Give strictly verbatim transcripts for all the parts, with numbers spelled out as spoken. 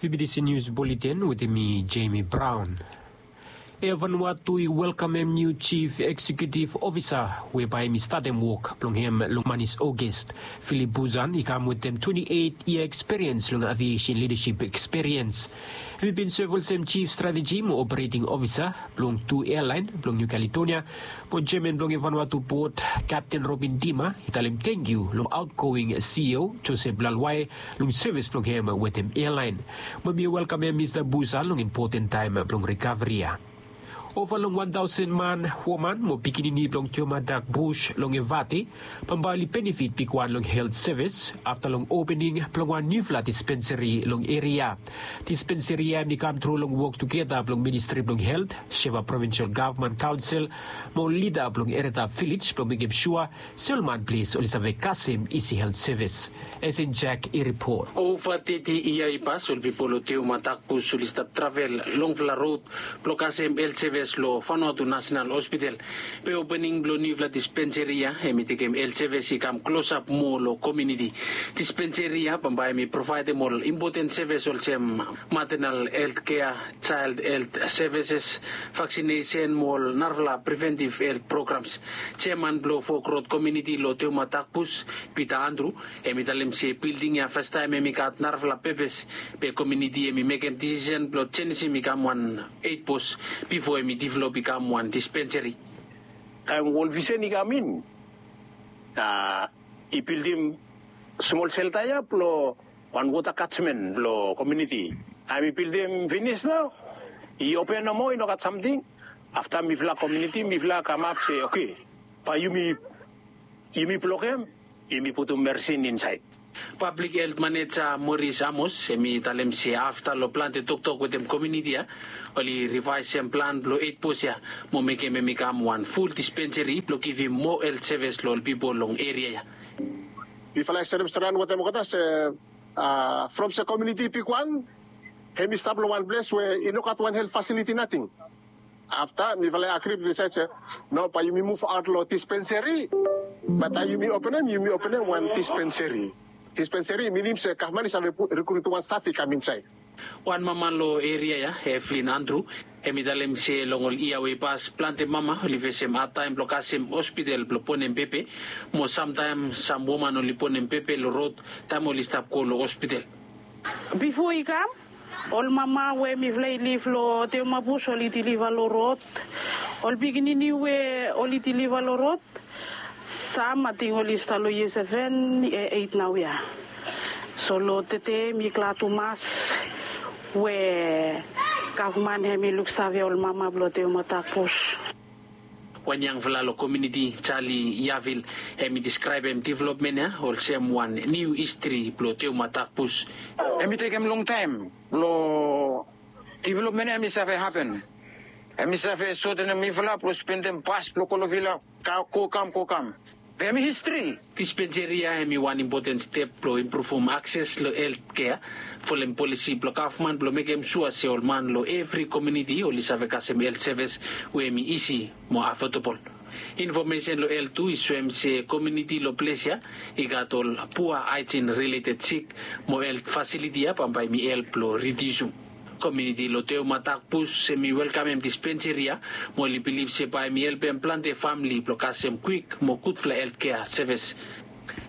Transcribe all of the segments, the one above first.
B B C News Bulletin wetem mi, Jamie Brown. Air Vanuatu i welkamem niu Chief Executive Officer we bae hemi statem wok blong hem long manis Ogest. Philip Busan i kam wetem twenti eit yia ekspiriens long aviation lidasip ekspiriens. Hemi bin sev olsem Chief Strategy mo Operating Officer blong tu airline blong New Caledonia, mo jeaman blong Vanuatu Port, Kapten Robin Dima, i talem tangkiu long aotgoing C E O Joseph Lalwai long sevis blong hem wetem airline. Mo hemi welkamem Mista Busan long impoten taem blong rikaveri ya. Ova long wan taosen man, woman mo pikinini blong Teomatak Bus long Evate bambae oli benefit bigwan long helt sevis afta long opening blong wan niufala dispensari long eria. Dispensari ya hemi kam tru long wok tugeta blong Ministri blong Helt, Sheva Provinsel Gavman Kaonsel mo lida blong Eretap Vilej blong mekem sua se ol man ples oli save kasem isi helt sevis. Esen Jack i ripot. Ova teti yia i pas ol pipol long Teomatak Bus oli stap travel longfala rod blong kasem helt sevis long Vanuatu Nasenal Hospital. Be opening blong niufala dispensari ya hemi tekem helt sevis i kam klosap moa long komuniti. Dispensari ya bambae hemi provaedem ol impoten sevis olsem maternal helt kea, child helt sevises, vaksinesen mo ol narafala preventiv helt programs. Jeaman blong Fok Rod komuniti long Teomatak Bus, Peter Andrew, hemi talem se bilding ya fastaem hemi gat narafala pepes, be komuniti hemi mekem disisen blong jenisim i kam wan eit bos bifo hemi develop i kam wan dispensari. Taem World Vision i kam in, a, i bildim smol selta ya blong wan wota kajmen blong komuniti. Taem i bildim finis nao, i open nomo, i no gat samting. Afta mifala komuniti, mifala kamap se, oke, bae yumi, yumi blokem, yumi putum mersin insaed. Pablik helt maneja Moris Amos hemi talem se afta long plante toktok wetem komuniti ya, oli rivaesem plan blong eit bos ya mo mekem hemi kam wan ful dispensari blong givim moa helt sevis long ol pipol long eria ya. Mifala i serem stran wetem olgeta se, a, from se komuniti i bigwan, hemi stap long wan ples we i no gat wan helt fasiliti nating. Afta mifala i agri, disaed se, no, bae yumi muv aot long dispensari. Be taem yumi openem, yumi openem wan dispensari. Dispensari i minim se gavman i save pu-, rikrut wan staf i kam insaed. Wan mama long eria ya, Evelyn Andrew, hemi talem se long ol yia we i pas, plante mama oli fesem adtaem blong kasem hospital blong bonem pepe, mo samtaem sam woman oli bonem pepe long rod taem oli stap go long hospital. Bifo i kam, ol mama we mifala i liv long Teomatak Bus oli diliva long rod. Ol pikinini we oli diliva long rod, sam ating oli stap long yia seven, yia eit naoia. So long tede mi glad tumas we gavman hemi luksave ol mama blong Teomatak Bus. Wan yangfala long komuniti, Charlie Yavil, hemi deskraebem developmen ya olsem wan niu histri blong Teomatak Bus. Hemi tekem longtaem blong developmen ya hemi save hapen. Hemi save sotenem mifala blong spendem bas blong Kolovila, ka-, go kam, go kam. Be hemi histri. Dispensari ya hemi wan impoten step blong impruvum akses long helt kea, folem polisi blong gavman blong mekem sua se ol man long evri komuniti oli save kasem helt sevis we hemi isi mo afodabol. Infomesen long helt tu i soem se komuniti long ples ya i gat ol pua haejin rileted sik, mo helt fasiliti ya bambae hemi help blong ridiusum. Komuniti long Teomatak Bus hemi welkamem dispensari ya, mo oli bilif se bae hemi helpem plante famili blong kasem kwik mo gudfala helt kea sevis.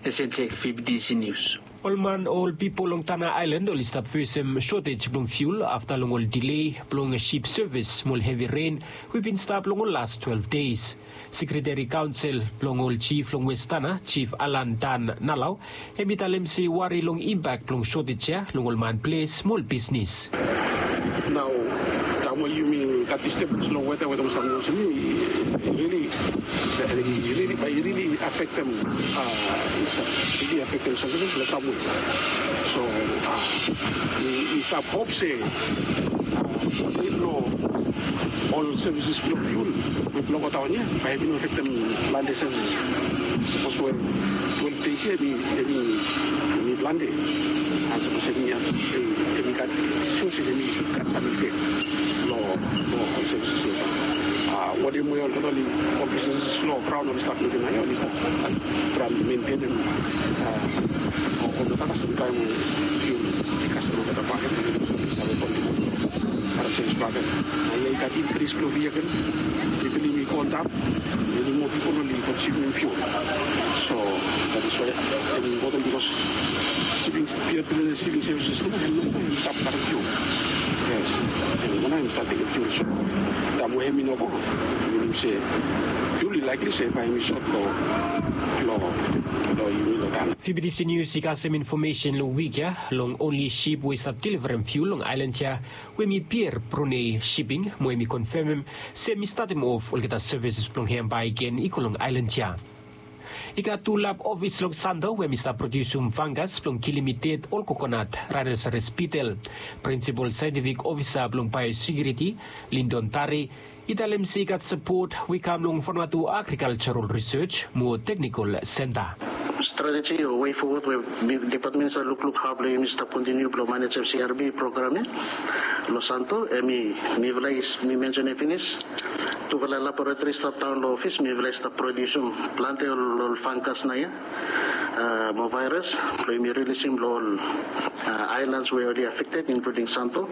Esen Jack, B B C News. Ol man, ol pipol long Tanna Aelan oli stap fesem sotej blong fiul afta long ol dile blong sip sevis mo ol hevi ren we i bin stap long ol las twelve days. Sekreteri Kaonsel blong ol jif long West Tanna, Jif Alan Dan Nalau, hemi talem se i wari long impak blong sotej ya long ol man ples mo ol bisnis. Nao taem we yumi gat distebens long weta wetem samting olsem i rili, i rili, i rili afektem, a, i rili afektem samting long sam we. So, a, mi, mi stap hop se, a, nid blong ol sevis blong fiul we blong godaon ya bae i no afektem plante sevis. Sapos we twelve days ya hemi, hemi, hemi plante. An sapos hemi, hemi gat, sua se hemi sud gat sam ifek long, long ol sevis ya. A, wanem we olgeta oli, ol bisnis long graon oli stap mekem nao ya, oli stap traem mentenem, a, olgeta kasem taem we fiul i kasem olgeta bakegen. Sevis bakegen. Naoia i gat inkris blong vehikel, pipol i mi go antap, many more pipol oli konsumim fuel. So that is why hemi impoten bikos siping, Pier Brunei Shipping Services tu hemi no go i stap karem fuel. Yes, hemi no go i stap tekem fuel. So taem we hemi no go, minim se fuel i likely se bae hemi sot lo, lo, lo yumi lo taem. Fibidisi Nius i kasem infomesen long wik ya long onli sip we i stap deliverem fuel long aelan ya, we hemi Pier Brunei Shipping, mo hemi konfemem se hemi statem of olgeta sevis blong hem bakegen i go long aelan ya. I gat tu lab ofis long Santo we hemi stap prodiusum fangas blong kilim i ded ol kokonat, raenosaras bitel. Prinsipol saentifik ofisa blong baeosekiuriti, Lindon Tari, i talem se i gat sapot we i kam long Vanuatu Agrikaljaral Risej mo Teknikol Senta. Strateji o wei fowod we mi, depatmen i save lukluk hao blong yumi stap kontiniu blong manejem C R B program ya lo Santo, hemi, mifala i, mi mensenem finis. Tufala laboratori i stap daon lo ofis, mifala i stap prodiusum plante ol, ol fangas naoia, a, mo vaeras blong yumi rilisim lo ol, a, aelans we oli afekted, inkluding Santo.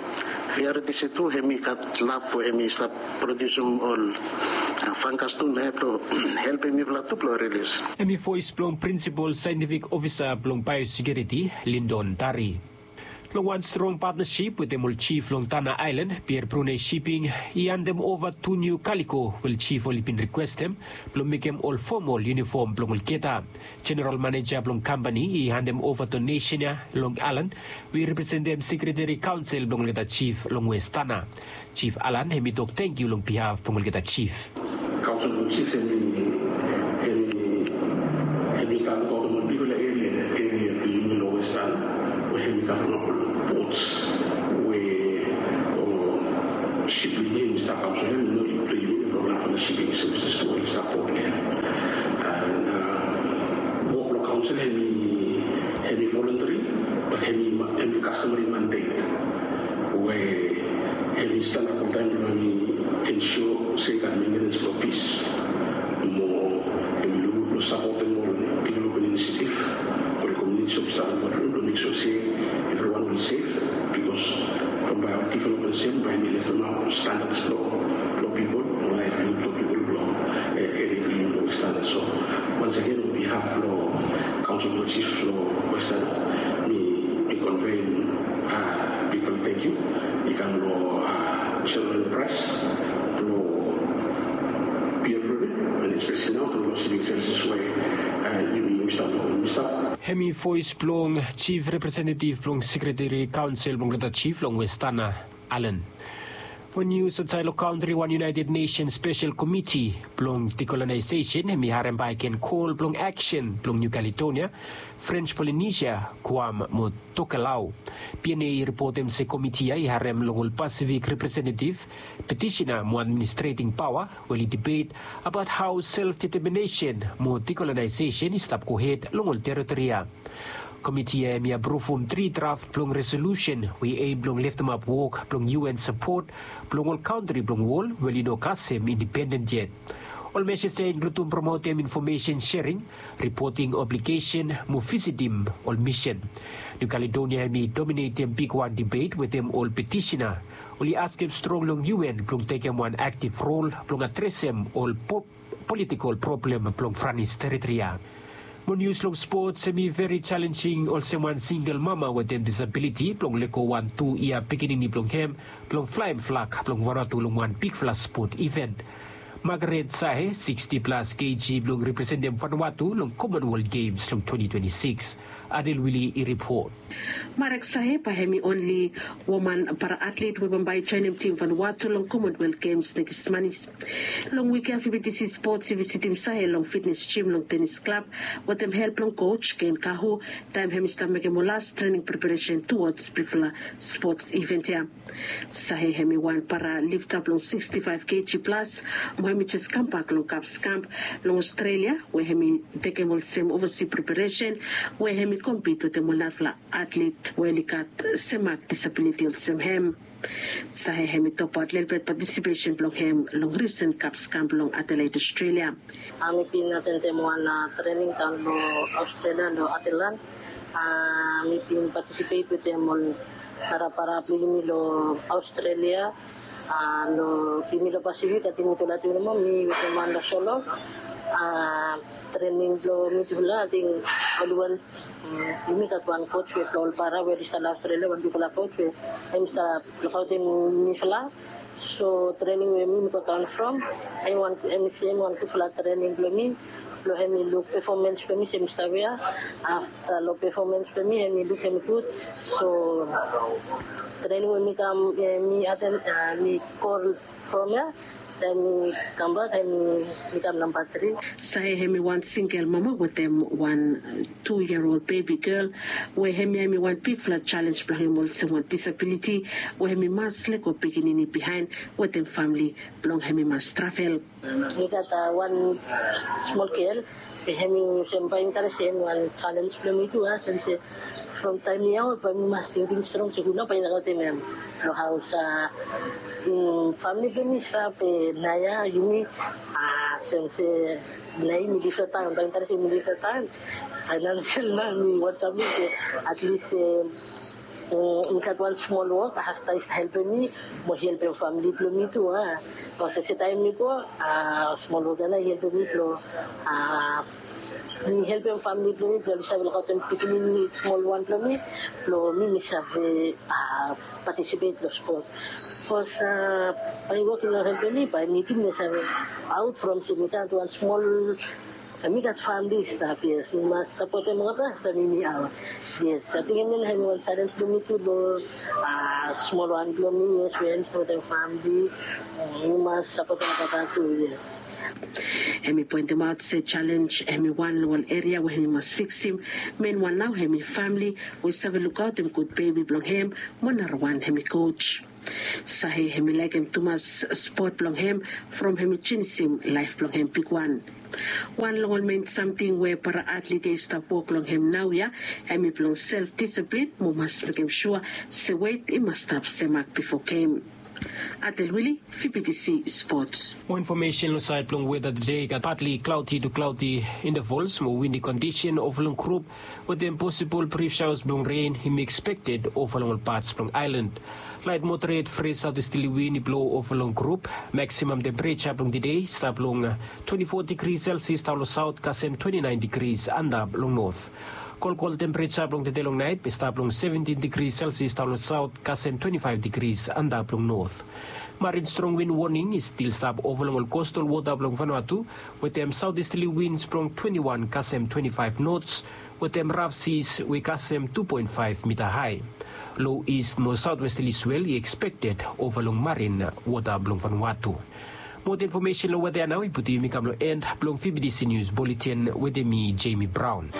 V R T C tu hemi gat lab we hemi stap prodiusum ol, a, fangas tu naoia blong helpem mifala tu blong rilis. Hemi voes blong prinsipol saentifik ofisa blong baeosekiuriti, Lindon Tari. Long wan strong patnasip wetem ol jif long Tanna Aelan, Pier Brunei Shipping i handem ova tu niu kaliko we ol jif oli bin rikwestem blong mekem ol fomol iunifom blong olgeta. Jeneral maneja blong kampani i handem ova donesen ya long Alan, we i representem sekreteri kaonsel blong olgeta jif long Wes Tanna. Jif Alan hemi tok tangkiu long bihaf blong olgeta jif. Kaonsel blong jif hemi, hemi, hemi stap lukaotem ol bigfala eria, eria blong yumi long Wes Tanna, we hemi gat long ol bots we, o, sip blong yumi hemi stap kam, so hemi no blong yumi, blong narafala siping sevises tu we oli stap wok long hem. And, a, wok blong kaonsel hemi, hemi voluntary, bat hemi, hemi customary mandate we hemi stanap oltaem blong hemi ensua se i gat mentenens blong pis mo hemi lukluk blong sapotem ol developmen inisiativ, ol komuniti of Southern Pacific, blong meksua se evriwan will sef, bikos from bae ol developmen sem bae hemi leftemap ol standards blong, blong pipol, blong laevli blong pipol blong, e, eria blong yumi long Wes Tanna. So once again, on behalf blong Kaonsel blong Jif long Wes Tanna, mi, mi convey, a, bigfala tangkiu i kam long, a, General Enterprise blong Pier Brunei, and especially nao blong Shipping Services we, a, yumi, yumi stap long, yumi stap. Hemi voes blong jif representetiv blong sekreteri kaonsel blong olgeta jif long Wes Tanna Aelan. Mo nius aotsaed long kantri, wan United Nations Spesel Komiti blong Dikolonasesen hemi harem bakegen kol blong aksen blong Niu Kaledonia, Frens Polinesia, Guam mo Tokelau. P N A i ripotem se komiti ya i harem long ol Pasifik representetiv, petisena mo administreting paoa we oli dibet abaot hao self deteminesen mo dikolonasesen i stap gohed long ol teritori ya. Komiti ya hemi apruvum tri draf blong resolusen we i aem blong leftemap wok blong U N sapot blong ol kantri blong wol we oli no kasem indipenden yet. Ol mejas ya i inkludim promotem infomesen sering, ripoting obligesen mo visitim ol misen. Niu Kaledonia hemi dominetem bigwan dibet wetem ol petisena. Oli askem strong long U N blong tekem wan aktiv rol blong adresem ol po-, politikol problem blong Franis teritori ya. Mo nius long spots, hemi veri jalensing olsem wan singel mama wetem disabiliti blong lego wan tu yia pikinini blong hem blong flaem flag blong Vanuatu long wan bigfala spot iven. Margaret Sahe, siksti plas keji, blong representem Vanuatu long Commonwealth Games long twenty twenty-six. Adel Wili i ripot. Marek Sahe bae hemi onli woman para-atlet we bambae i joenem tim Vanuatu long Commonwealth Games nekis manis. Long wik ya, F B T C Sports i visitim Sahe long fitnes jim long tenis klab wetem help blong coach Ken Kahu, taem hemi stap mekem ol las trening preparesen towards bigfala sports event ya. Sahe hemi wan para lifta blong siksti faef keji plas, mo hemi jes kambak long Kaps Kamp long Australia, we hemi tekem olsem ovasi preparesen, we hemi kompit wetem ol narafala atlet we oli gat semak disabiliti olsem hem. Sahe hemi tokbaot lelebet patisipesen blong hem long risen Kaps Kamp long Adelaide, Australia. A, mi bin atendem wan, a, trening daon lo Australia, lo Adelaide. A, mi bin patisipet wetem ol narafala para blong yumi lo Australia. Long yumi long Pasifik, ating mitufala tu nomo, mi wetem wan long solo. Trening blong mitufala, ating oli wan, yumi gat wan coach we blong ol para we oli stap long Australia, wan bigfala coach we hemi stap lukaotem mifala. So trening we mi mi go daon from, hemi wan, hemi sem wan gudfala trening blong mi. Blong hemi luk performance blong mi se mi stap ya. Afta long performance blong mi, hemi luk hemi gud. So trening we mi kam, mi aten, mi go from ya, taem mi kambak, hemi kam namba tri. Sahe hemi wan singel mama wetem wan tu yia ol bebi gel we hemi, hemi wan bigfala jalenj blong hem olsem wan disabiliti we hemi mas lego pikinini bihaen wetem famili blong hemi mas travel. Mi gat wan smol gel, be hemi olsem bae mi talem se hemi wan jalenj blong mi tu, a, olsem se from taem mi yaon bae mi mas tingting strong se hu nao bae i lakaotem hem long haos. Famili blong mi stap naoia, yumi, olsem se naoia mi lif long taon, bae mi talem se mi lif long taon. Faenansial nao mi wantem se atlis mi gat wan smol wok, afta i stap helpem mi mo helpem famili blong mi tu, a. Bikos se taem mi go, smol wok ya nao i helpem mi blong mi helpem famili blong mi blong oli save lukaotem pikinini smol wan blong mi, blong mi mi save patisipet long spot. Bikos bae wok i no helpem mi, bae mi tu mi no save aot from se mi gat wan smol, mi gat famili i stap, yes, mi mas sapotem olgeta afta mi mi aot. Yes, ating hemia nao hemi wan jalenj blong mi tu long smol wan blong mi, yes, we hemi sapotem famili. Mi mas sapotem olgeta tu, yes. Hemi poentemaot se jalenj hemi wan long ol eria we hemi mas fiksim. Menwan nao hemi famili we i save lukaotem gud bebi blong hem, mo narawan hemi coach. Sahe hemi laekem tumas spot blong hem from hemi jenisim laef blong hem bigwan. Wan long ol men samting we para atlit ya i stap wok long hem naoia, hemi blong self disiplin mo mas mekem sua se wet i mas stap semak bifo gem. Atel Wili, V B T C Sports. Mo infomesen long saed blong weta tede, i gat partly cloudy to cloudy intervals mo windy condition ova long grup, wetem posibol brief showers blong ren hemi expected ova long ol parts blong aelan. Laet moderate fresh southeasterly wind i blo ova long grup. Maximum temperature blong tede i stap long twenty-four degrees Celsius daon long south kasem twenty-nine degrees antap long north. Kolkol temperature blong tede long naet i stap long seventeen degrees Celsius daon long south kasem twenty-five degrees antap long north. Marine strong wind warning i stil stap ova long ol coastal wota blong Vanuatu, wetem southeasterly winds blong twenty-one kasem twenty-five knots, wetem rough seas we kasem two point five mita hae. Low east mo southwesterly swell i expected ova long marine wota blong Vanuatu. Mo infomesen long weta ya nao i putum yumi kam long en blong V B T C News Bulletin wetem mi, Jamie Brown.